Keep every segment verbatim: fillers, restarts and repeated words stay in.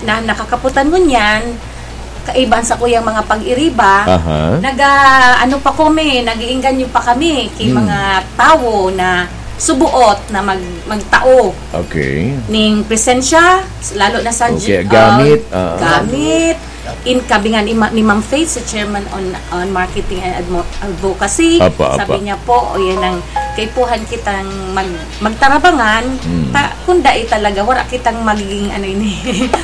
na nakakaputan ngunyan, kaiba sa kuyang mga pag-iriba, Aha. naga-, ano pa kami, nag-iingganyo pa kami ki Hmm. mga tawo na subuot na mag-, magtao Okay. ning presensya, lalo na sa Okay, j-, gamit, ah, ah. gamit, in kabingan ni Ma-, ni Ma'am Faith, sa chairman on, on marketing and admo-, advocacy. Apa, apa. Sabi niya po, o yan ang kaipuhan kitang mag-, magtarabangan, Hmm. ta-, kung dai talaga, wala kitang magiging, ano ini,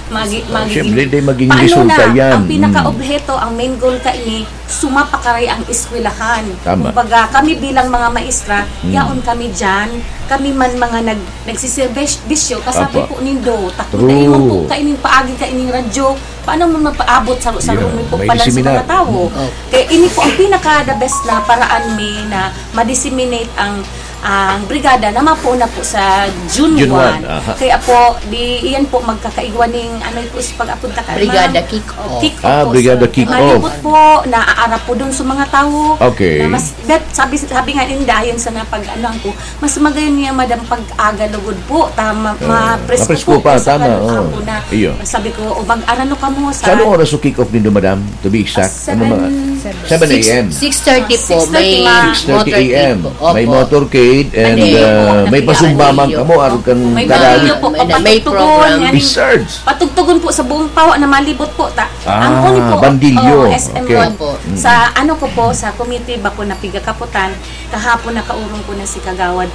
magi-, magiging Siyempre, di maging paano resulta na yan. ang Hmm. pinaka-obheto, ang main goal ka ini, sumapakaray ang eskwelahan. Tama. Kumbaga, kami bilang mga maestra, Hmm. yaon kami dyan, kami man mga nag-, nagsisirbisyo, kasabi Apa. po nindo, takbo True. na imong po kaining paagi kaining radyo, paano mo mapaabot sa, sa Yeah, rumi po may pala sa seminar. mga tao? Hmm. Oh. Kaya ini po ang pinaka the best na paraan mi na ma-disseminate ang, ang brigada na mapuon na po sa June June one. one, aha. Kaya po, di, iyan po magkakaigwa ning, ano po, sa pag-apod ta ka, Brigada ma'am? kick-off. Oh, kick-off Ah, po, brigada sir. kick-off. Malibot po, naaarap po dun sa mga tao. Okay. Na mas, bet, sabi, sabi nga ninda, ayon sa napag-, ano ko, mas magayon niya, madam, pag-aga lugod po. Tama, Ah, mapresko mapresko po, pa, po sa tama, kanang oh. hapon na. Iyo. Sabi ko, "O, mag-arano ka mo sa" Sa anong oras o kick-off nindo, madam? To be exact, Ah, ano mga seven. seven a m. Six thirty po, Six thirty, may ma'am. Six thirty a m. motorcade po. May Opo. motorcade and, Ano yun po, uh, may napili pasumba ako man ninyo. kamo, arog kan May Tagalog. video po, May, may papatugtugon, program. yan. Wizards. Patugtugon po sa buong Pawa na malibot po. Ta-, Ah, ang kunin po, bandilyo. oh, S M Okay. Road. Opo. Mm. Sa ano ko po, sa committee ba ko napigakaputan, kahapon nakaurong ko na si Kagawad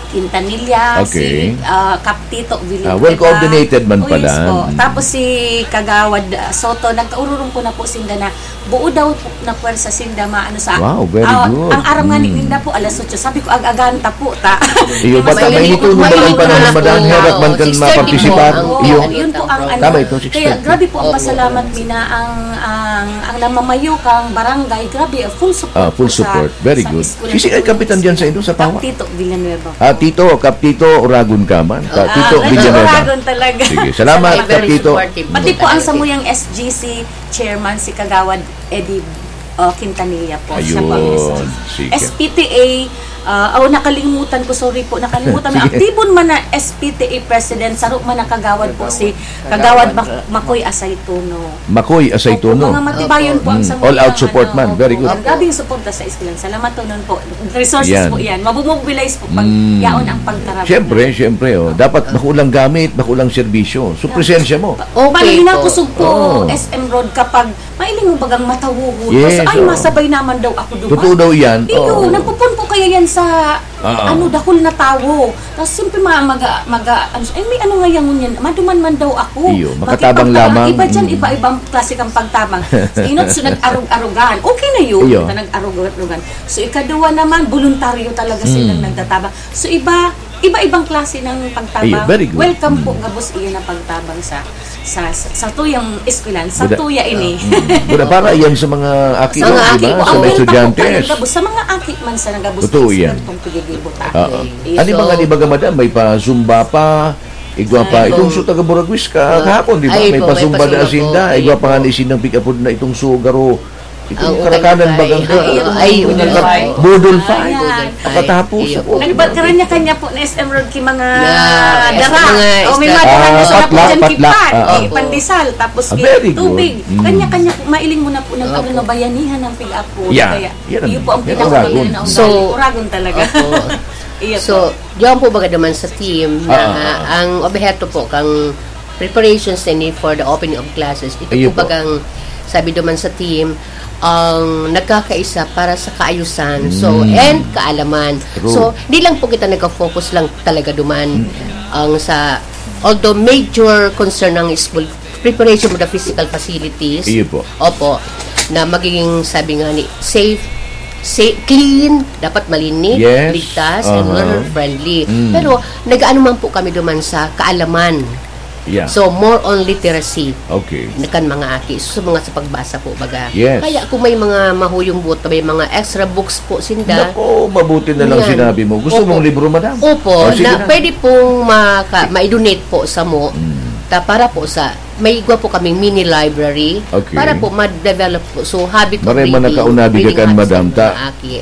Quintanilla, Okay. si, ah, Kap Tito Villanueva. Ah, well coordinated man Oh, yes pala. po. Mm. Tapos si Kagawad, ah, Soto, nagkaururong ko na po sinda na buo daw po na pwersa sinda maano sa Wow, very ah, good. ang aram nga ni Mm. ninda po, alas otso. Sabi ko, "Ag-agan ta po, ta." Iyo, Mas bata, mainit mainit po, po, madam, mainit panahon, po. madam, herak man kan Six thirty po mapartisipar. ang Oo, Iyo. yun po ang ano. Tama ito, Kaya six thirty. grabe po ang Opo. pasalamat mi na ang, ang, ang namamayo kang barangay, grabe, full support Ah, full po sa, support. Very sa good. eskwela Sisi ay po. kapitan dyan sa indo, sa Pawa? Tito Villanueva. Ah, Tito, Kap Tito, Uragon ka man. Ka-, Ah, Tito medyo Villanueva. Uragon talaga. Sige, salamat, Salamat. Kap Very Tito. supportive Pati po ang talaga. samuyang S G C chairman, si Kagawad Eddie, uh, Quintanilla po. Siya po ang Ayun, S G C. sige. S P T A, uh, oh, nakalimutan ko, sorry po, nakalimutan. Sige. Aktibo man na S P T A president, saro man na kagawad po si Kagawad Kagawad Mac-, Mac-, Macoy Asaytuno. Macoy Asaytuno. Opo, mga matibayon po ang Mm. samuyang, All out support ano, man. Very opo, good. ang grabing suporta sa eskwelahan. Salamat tunon po. Resources Yan. po yan. Mabumobilize po pag Mm. yaon ang pagtarabang. Siyempre, siyempre, oh. Dapat bako lang gamit, bako lang serbisyo. So, Yeah. presensya mo. Okay Paano po. hinakusog po, Oh. S M Road, kapag mailing mo bagang matawuhod? Yes, Tapos, ay, oh. masabay naman daw ako duman. Totoo daw yan. Iyo, Oo. nagpupun po kaya yan sa, Ah, ah. ano, dakul na tawo. Tapos, siyempre, ma-, maga-, maga-, ano siya, "Ay, may ano nga yan, ngunyan? Maduman man daw ako." Iyo, Bakit makatabang pagtabang? lamang. Iba dyan, Mm. iba-ibang klase kang pagtabang. Sa inot, so, nag-arog-arogan. Okay na yun. Iyo. Kita nag-arog-arogan. So, ikaduwa naman, voluntaryo talaga silang Mm. nagtatabang. So, iba, iba-ibang klase ng pagtabang. Iyo, very good. Welcome po, Mm. gabos iyan ang pagtabang sa, sa, sa, sa tuyang eskwelahan, sa Buda-, tuya ini. ah, mm. Buda, para yan sa mga aki Sa mo, mga aki di ba? po, Sa ang mga welcome po estudyante. kayo, gabos. Sa mga aki man sa nagabos Totoo na yan. eskwelahan, kung pigigil buta. Oo. Iyo, Ano so, ba nga, di ba, madam? May pa-zumba pa, igwa pa. Ay, Itong oo. sa taga Buragwis ka, Ah, kahapon, di ba? ay, May po, may pa-zumba na pa-zumba asinda. po. Igwa Iyo pa nga po. ni sinang pick-up na itong sugaro. Itong Ah, karakanan okay. bagang ka. Ay, Ay, yung ay, yung Boodle fight. Boodle fight. Ayan. Pagkatapos, Iyo. oh, Nagba-, kanya-kanya po na S M Road ki mga Na, dara. mga O, may isda. mga dara na Ah, sila po patlak, dyan ki patlak. Pat, Ah, ah. ki pandesal, tapos Ah, ki very good. tubig. Mm. Kanya-kanya po, mailing mo na po ng Opo. ano, bayanihan ng pick-up po. Yeah. Kaya, Yan ang, iyo po ang yan ang pinakauna uragon. na ugali. So, Uragon talaga. Opo. Iyo So, po. diyan po baga naman sa team na Ah, ah, ah. ang obheto po kang preparations na ini for the opening of classes. Ito Ayun po po. bagang sabi naman sa team, ang nagkakaisa para sa kaayusan. So, Mm. and kaalaman. True. So, di lang po kita nagka-focus lang talaga duman Mm. ang sa, although major concern ng school, preparation of the physical facilities. Iyo po. Opo. Na magiging, sabi nga ni, safe, safe, clean, dapat malinis, Yes. ligtas, and Aha. learner-friendly. Mm. Pero, nag-aano man po kami duman sa kaalaman. Yeah. So, more on literacy Okay. na kan mga aki. So, mga sa pagbasa po, baga. Yes. Kaya kung may mga mahuyong buot, may mga extra books po sinda. Nako, mabuti na lang Yan. sinabi mo. Gusto Opo. mong libro, madam? Opo, O, sige na na. pwede pong maka-, ma-donate po sa mo. Mm. Ta-, para po sa, may igwa po kaming mini library. Okay. Para po ma-develop po. So, habit of Maray man reading, nakaunabi ka reading kan habits madam, ng ta. mga aki.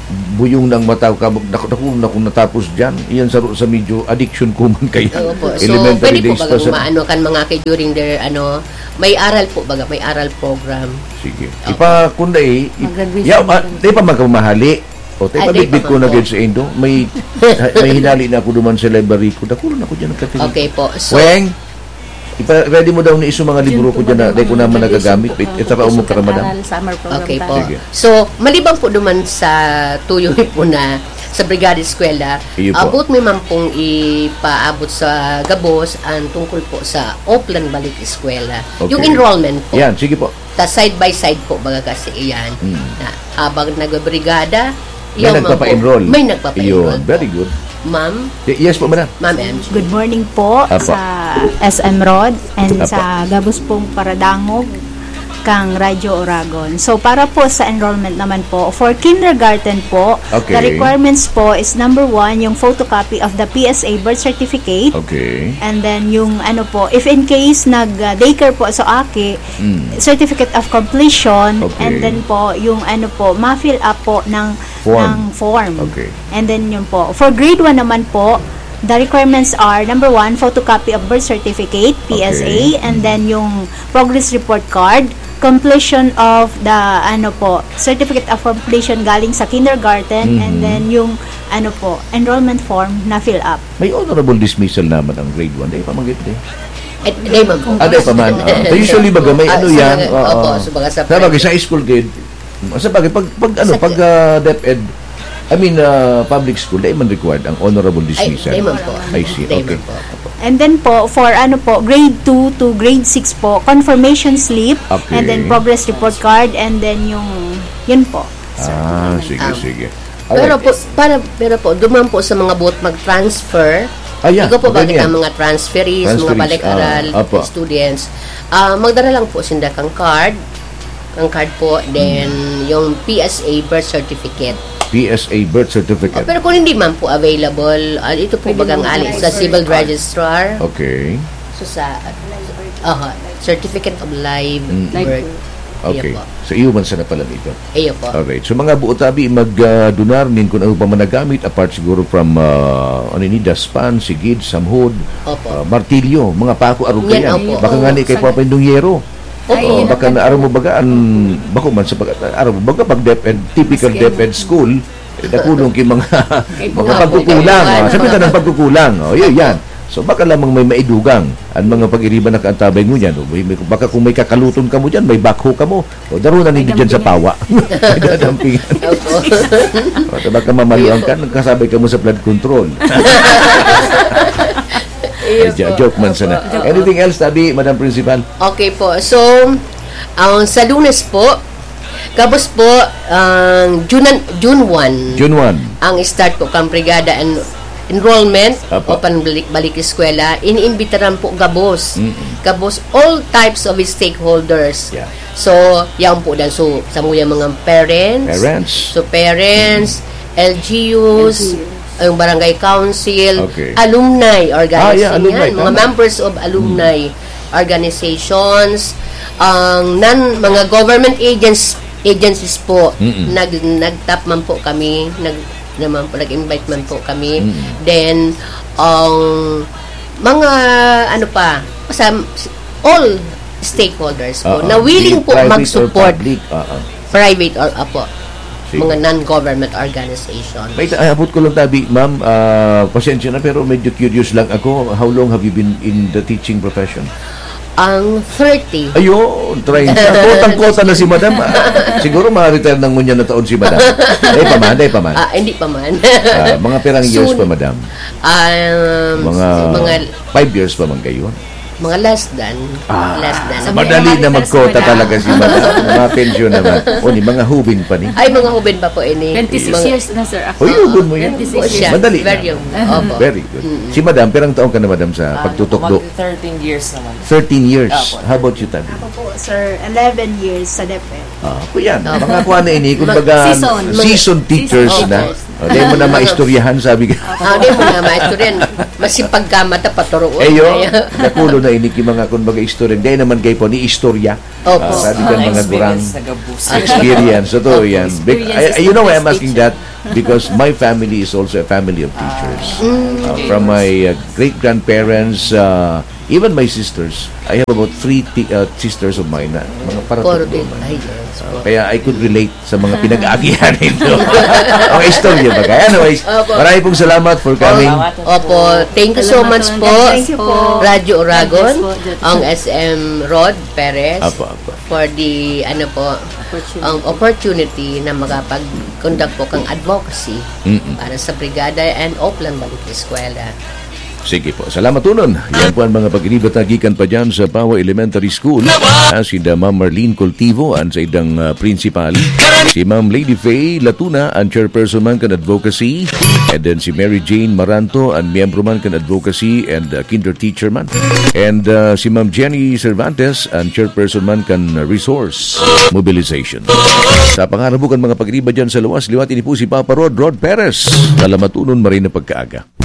buyong na ang mata ko, kab-, naku, naku, naku, natapos diyan. Iyan saro sa medyo addiction ko man kaya. Opo. So, elementary pwede po days baga pa sa maano kan mga ki-, during their, ano, may aral po baga, may aral program. Sige. Opo. Ipa, kung dai, i-, Mag-graduation yaw, ah, naman. Di pa magkamahali. O, tayo Ah, di pa bitbit pa ko man na po. Gid sa indo. May, may hinali na ako duman sa library ko. Dakulo na ako diyan nagkatili. Okay po. So, Weng, ipa-ready mo daw ni iso mga libro ko diyan na dai ko naman nagagamit. It-, itaraw mo para, madam. Aral, summer program Okay po. tayo. Sige. So, maliban po duman sa tuyo mi po na sa Brigada Eskwela, Iyo po. abot mi man pong ipaabot sa gabos ang tungkol po sa Oplan Balik Eskwela. Okay. Yung enrollment po. Yan, sige po. Ta side by side po, baga kasi iyan. Mm. Na habang nagbabrigada, May yung mga nagpapa-enroll. po, may nagpapa-enroll Yun, po. very good. Ma'am? Y-, yes po, madam. Ma'am M G. Good morning po Apo. sa S M Rod and Apo. sa gabos pong paradangog kang Radyo Oragon. So, para po sa enrollment naman po, for kindergarten po, Okay. the requirements po is number one, yung photocopy of the P S A birth certificate. Okay. And then yung ano po, if in case nag, uh, daycare po sa aki, Mm. certificate of completion, Okay. and then po, yung ano po, ma-fill up po ng, Form. ng form. Okay. And then yun po. For grade one naman po, the requirements are, number one, photocopy of birth certificate, P S A, Okay. and then yung progress report card, completion of the, ano po, certificate of completion galing sa kindergarten, and Mhm. then yung, ano po, enrollment form na fill up. May honorable dismissal naman ang grade one. Dai pa man gid, eh. Eh, dai man po. Ah, dai pa man. Ah, usually, baga, may Ah, ano sa yan, mga, oo. opo, sa mga sa Sabagay, private. sa high school grade, sabagay, pag, pag, ano, Sa pag, ah, DepEd, I mean, ah, public school, dai man required ang honorable Ay, dismissal. dai man po. I see, Dai okay. man po. And then po, for ano po, grade two to grade six po, confirmation slip, Okay. and then progress report card, and then yung, yun po. Ah, sige, Ah. sige. Pero Alright. po, para, pero po, duman po sa mga buot mag-transfer, Ah, yeah, igo po, bakit ganyan. ang mga transferees, mga Transferees, balik-aral, ah, apo. students, ah, magdara lang po sinda kang card, ang card po, then Mm. yung P S A birth certificate. P S A birth certificate. Oh, pero kung hindi man po available, ah, ito po Pwede bagang naman ali sa sa civil card. registrar. Okay. So, sa, aha, certificate of live Mm. Live birth. birth. Okay. Iyo po. So, iyo man sana pala nito. Iyo po. Alright. So, mga buot abi, mag, ah, dunar nin kung ano pa man nagamit, apart siguro from, ah, ano ini, daspan, sigid, samhod, Opo. ah, martilyo, mga pako, arog Yan, kaiyan. opo. Baka Oo, nga ni kay sana. Papa Indong Yero. Opo. Ay, Oh, yun baka ang na araw mo baga, ang, bako man sa pag, araw mo baga, pag DepEd, typical Maski DepEd school, eh, nakulong ki mga, Kay mga mga pagkukulang, Papa ah. Sabi ka ng pagkukulang, oh, yun, yan. So, baka lamang may maidugang ang mga pag-iriba na kaantabay mo niyan. O, may, may, baka kung may kakaluton ka mo dyan, may backhoe ka mo. O, darunan May ninyo dyan sa dampingan. pawa. May dadampingan. Opo. O, baka mamaluan ka, nagkasabay ka mo sa flood control. Iyo Ay, jo-, po. joke man sana. Opo. Anything else, tabi, Madam Principal? Okay po. So, ang sa Lunes po, gabos po, ang June, June one, June one. ang start po kang Brigada en-, enrollment Apo. o panbalik-balik eskwela, iniimbitaran po gabos. Mm-mm. Gabos, all types of stakeholders. Yeah. So, yan po dan. So, sa mga, mga parents, Parents. so parents, L G Us, L G Us. ang barangay council, Okay. alumni Ah, yeah, organization, alumni, yan, mga tama. members of alumni Mm. organizations, ang nan-, mga government agents, agencies po, Mm-mm. nag-, nag-tap man po kami, nag-, naman po, nag-invite man po kami. Mm-mm. Then, ang mga, ano pa, sa, all stakeholders po Oo. na willing Be it po private or mag-support. public. Oo. Private or, apo, Sige. mga non-government organization. May ta-, abot ko lang tabi, ma'am, ah, pasensya na, pero medyo curious lang ako. How long have you been in the teaching profession? Ang thirty. Ayun, treinta. Kotang-kota na si madam, ah. Siguro ma-retire na ngunyan na taon si madam. Dai pa man, dai pa man. Ah, hindi pa man. Ah, mga pirang years Soon. pa, madam? Um, Mga mga five years pa man kayo? Mga less than. Ah, Less than. Sabi madali naman na ni Sir magkota Madam. talaga si madam. Mga pensyon naman. O, ni mga hubin pa ni. Ay, mga hubin pa po ini. Twenty-six Mga years na, sir, ako. Uy, hubin mo yan. Twenty-six Opo, years. Madali Very lang. young. Opo. Very good. Mm-mm. Si madam, pirang taon ka na, madam, sa Ah, pagtutukdo? magto-thirteen years naman. Thirteen years. Opo. How about you, Tabi? Ako po, sir, eleven years sa DepEd. Ah, ako yan. Opo. Mga kuha na ini, kumbaga, Season. season teachers Season na. teachers. O, di mo na maistoryahan, sabi ka. Ah, di mo na maistoryahan. Masipag ka, mata, paturuon. Eh, yo, Kaya nakulo na ini, ki mga, kumbaga, istorya. Di naman kayo po ni istorya. Opo. Ah, sabi ka, Mga mga gurang experience sa gabos. experience. Totoo Opo, yan. Bec-, experience I, I, you know why I'm as a asking teacher. that? because my family is also a family of teachers. Uh, from my uh, great-grandparents, uh, even my sisters, I have about three ti- uh, sisters of mine na mga paratukdo man. Ay, yes. Kaya I could relate sa mga pinag-aagihan ninyo. Mga istorya ba kaya? Anyways, maraming pong salamat for coming. Opo, thank you so much po, Radyo Oragon, ang S M Rod Perez, for the, ano po, ang opportunity na makapag-conduct po kang advocacy para sa Brigada and Oplan Balik Eskwela. Sige po. Salamat unon. Yan po ang mga pag-iniba tagikan pa dyan sa Pawa Elementary School. Ah, si Ma'am Marlene Cultivo, ang sa idang uh, principal. Si Ma'am Lady Faye Latuna, ang chairperson man kan advocacy. And then si Mary Jane Maranto, ang miyembro man kan advocacy and uh, kinder teacher man. And uh, si Ma'am Jenny Cervantes, ang chairperson man kan resource mobilization. Sa pangarabo kan mga pag-iniba dyan sa luwas, liwat ini po si Papa Rod, Rod Perez. Salamat unon, maray na pagkaaga.